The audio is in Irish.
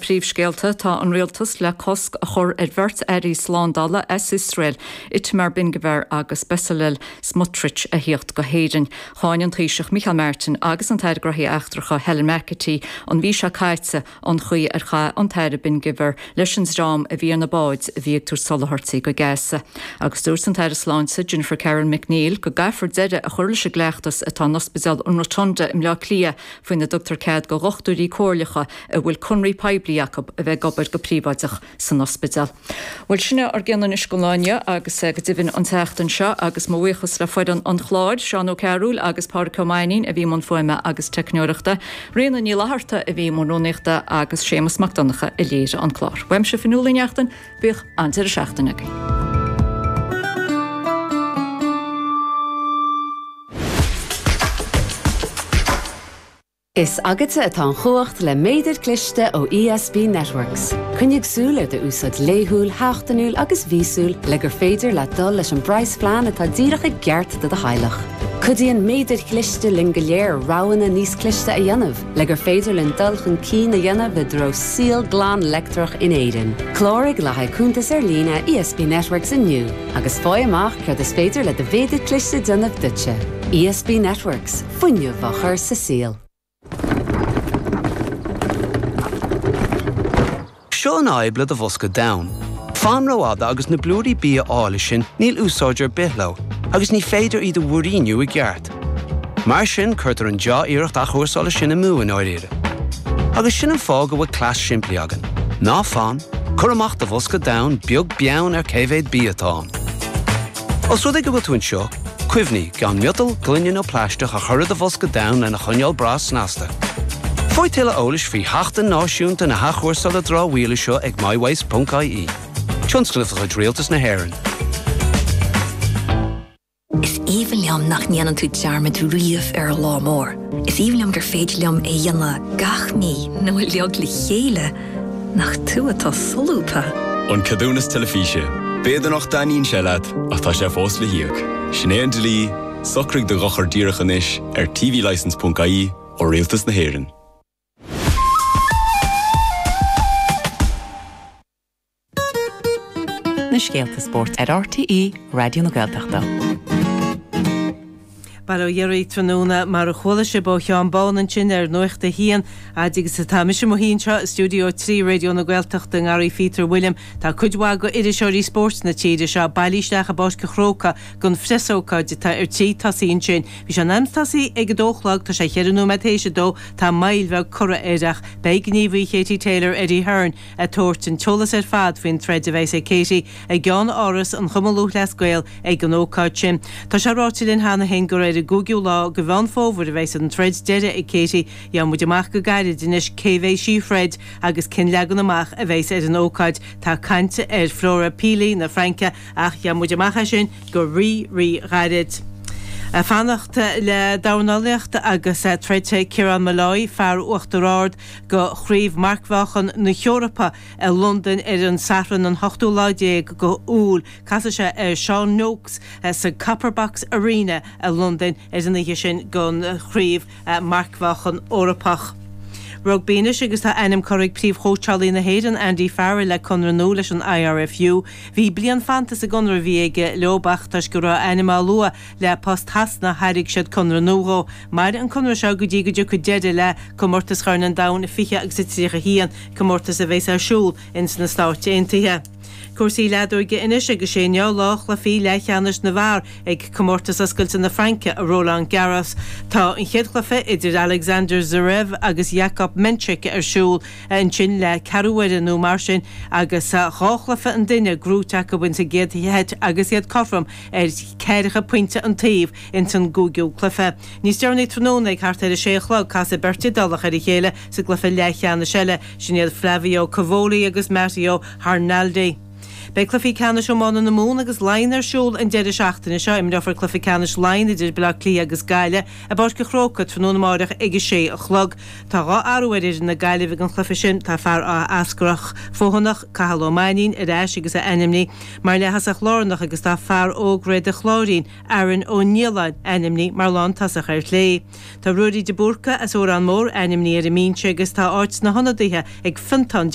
príomhscéalta, tá an rialtas le cosc a chur ar bheirt airí slándála as Iosrael, Itamar Ben-Gvir agus Bezalel Smotrich, a thíocht go hÉirinn. Cháin an Taoiseach Micheál Martin agus an tAire Gnóthaí Eachtracha Helen McEntee an mhí seo caite an chaoi ar chaith an tAire Ben-Gvir leis an dream a bhí ar na báid a bhí ag tabhairt soláthairtí go Gaza. Agus dúirt an tAire Sláinte Jennifer Carroll MacNeill go gcaithfear deireadh a chur leis an gcleachtas atá in Ospidéal an Rotunda i mBleá Cliath faoina dtugtar cead go dhochtúirí comhairleacha a bhfuil conraí poiblí acu a bheith ag obair go príobháideach san ospidéal. Bhuel, sin é ár gcion anois don lá inniu agus go deimhin an tseachtain seo agus mo bhuíochas le foireann an chláir, Seán Ó Cearúil agus Pádraic Ó Mainnín a bhí i mbun fuaime agus teicneoireachta, Ríona Ní Fhlatharta a bhí i mbun rúnaíochta agus Séamus Mac Donncha a léirigh an clár. Uaimse Fionnuala Ní Neachtain, bíodh an-deireadh seachtaine agaibh. Is agatsa atá an chumhacht le méadar cliste ó ESB Networks. Coinnigh súil ar d'úsáid laethúil, sheachtainiúil agus mhíosúil le gur féidir leat dul leis an bpraghasphlean atá díreach i gceart do do theaghlach. Cuidíonn méadair chliste linn go léir roghanna níos cliste a dhéanamh le gur féidir linn dul chun cinn a dhéanamh i dtreo saol glan leictreach in Éirinn. Cláraigh le haghaidh cuntas ar líne ESB Networks inniu agus faigh amach céard is féidir le do mhéadar cliste déanamh duitse. ESB Networks. Fuinneamh á chur sa saol. Seo an fhadhb le do bhosca donn. Fan rófhada agus na blúirí bia áille sin níl úsáid ar bith leo agus ní féidir iad a mhúiríniú i gceart. Mar sin cuirtear an dea-iarracht athchúrsála sin amú i ndáiríre. Agus sin an fáth go bhfuil cleas simplí againn. Ná fan, cuir amach do bhosca donn beag beann ar cé mhéad bia atá ann. Os rud é go bhfuil tú anseo, cuimhnigh gan miotal, gloine nó plaisteach a chur i do bhosca donn lena choinneáil breá snasta. Faigh tuilleadh eolais faoi Sheachtain Náisiúnta na hAthchúrsála Dramhaíola seo ag mywaste.ie. Tionscnamh de chuid Rialtas na hÉireann. Is aoibhinn liom nach ndéanann tú dearmad riamh ar an lá mór. Is aoibhinn liom gur féidir liom é a dhéanamh gach mí nó uilig le chéile. Nach tú atá solúbtha! An Ceadúnas Teilifíse. B'fhéidir nach dtaitníonn sé leat, ach tá sé fós le híoc. Sin é an dlí, socraigh do dhochar díreach anois ar tvlicence.ie ó Rialtas na hÉireann. Na scéalta spóirt ar RTÉ Raidió na Gaeltachta. Bail ó Dhia oraibh tráthnóna, mar a chuala sibh ó Sheán Bán ansin ar Nuacht a hAon, fhad agus atá mise i mo shuí anseo i Stiúideo 3 Raidió na Gaeltachta i nGarraí Phíotair Bhuilliam, tá cuid mhaith go iriseoirí spóirt na tíre seo bailithe isteach i bPáirc an Chrócaigh don phreasócáid atá ar tí tosaí ansin. Bhí sé in am tosaí ag a dó a chlog, tá sé cheithre nóiméad théis a dó, tá moill bheag curtha air ach beidh gníomhaí Katie Taylor, Eddie Hearn, ag tabhairt an t-eolas ar fad faoin troid a bheas ag Katie i gceann-áras an Chumann Lúthchleas Gael ag an ócáid sin. Tá sé ráite linn cheana féin gur ar an gcúigiú lá de Mheán Fómhair a bheas an troid deiridh ag Katie. Gheobhaidh muid amach go gairid anois cé bheidh sí a throid agus cén leagan amach a bheas ar an ócáid. Tá caint ar Flora Pili na Fraince ach gheobhaidh muid amach é sin go rí rí ghairid. Fanacht le dornálaíocht agus troidfidh Ciarán Molloy, fear Uachtar Ard, go Chraobh Marcmheáchan na hEorpa i Londain ar an Satharn an hochtú lá déag go Iúil. Casfaidh sé ar Sean Noakes sa Copper Box Arena i Londain ar an oíche sin don Chraobh Marcmheáchan Eorpach. Rugbaí anois agus tá ainm curtha ag príomhchóitseálaí na hÉireann Andy Farrell le conradh nua leis an IRFU. Bhí bliain fanta sa gconradh a bhí aige leo ach toisc go raibh a ainm á lua le post Shasana thairg siad conradh nua dhó. Mairfidh an conradh seo go dtí go dtiocfaidh deireadh le Comórtas Chorn an Domhain 20 agus a 31, comórtas a bheas ar siúl ins na Stáit Aontaithe. Cúrsaí leadóige anois agus sé inniu lá chluichí leathcheannais na bhfear ag Comórtas Oscailte na Fraince i Roland Garros. Tá an chéad chluiche idir Alexander Zverev agus Jakub Mensik ar siúl ansin le ceathrú uaire nó mar sin agus dhá chluiche an duine gnóite acu ins an gcéad sheit agus iad cothrom ar cheathracha pointe an taobh ins an gcúigiú cluiche. Níos deireanaí tráthnóna, ag thart ar a sé a chlog, casfaidh beirt Iodálach ar a chéile sa gcluiche leathcheannais eile, sin iad Flavio Cobolli agus Matteo Arnaldi. Beidh cluichí ceannais iomána na Mumhan agus Laighean ar siúl an deireadh seachtaine seo. Imreofar cluiche ceannais Laighean idir Baile Átha Cliath agus Gaillimh i bPáirc an Chrócaigh tráthnóna amáireach ag a sé a chlog. Tá 2 athrú ar fhoireann na Gaillimhe ag an chluiche sin. Tá fear Áth Eascrach Feothanach, Cathal Ó Mainnín, ar ais agus é ainmnithe mar leath-thosach lárnach agus tá fear óg Réad an Chláirín, Aaron Ó Nialláin ainmnithe mar lántosach ar chlé. Tá Ruairí de Búrca as Órán Mór ainmnithe ar an mbinse agus tá áit sna hionadaithe ag Fiontán de.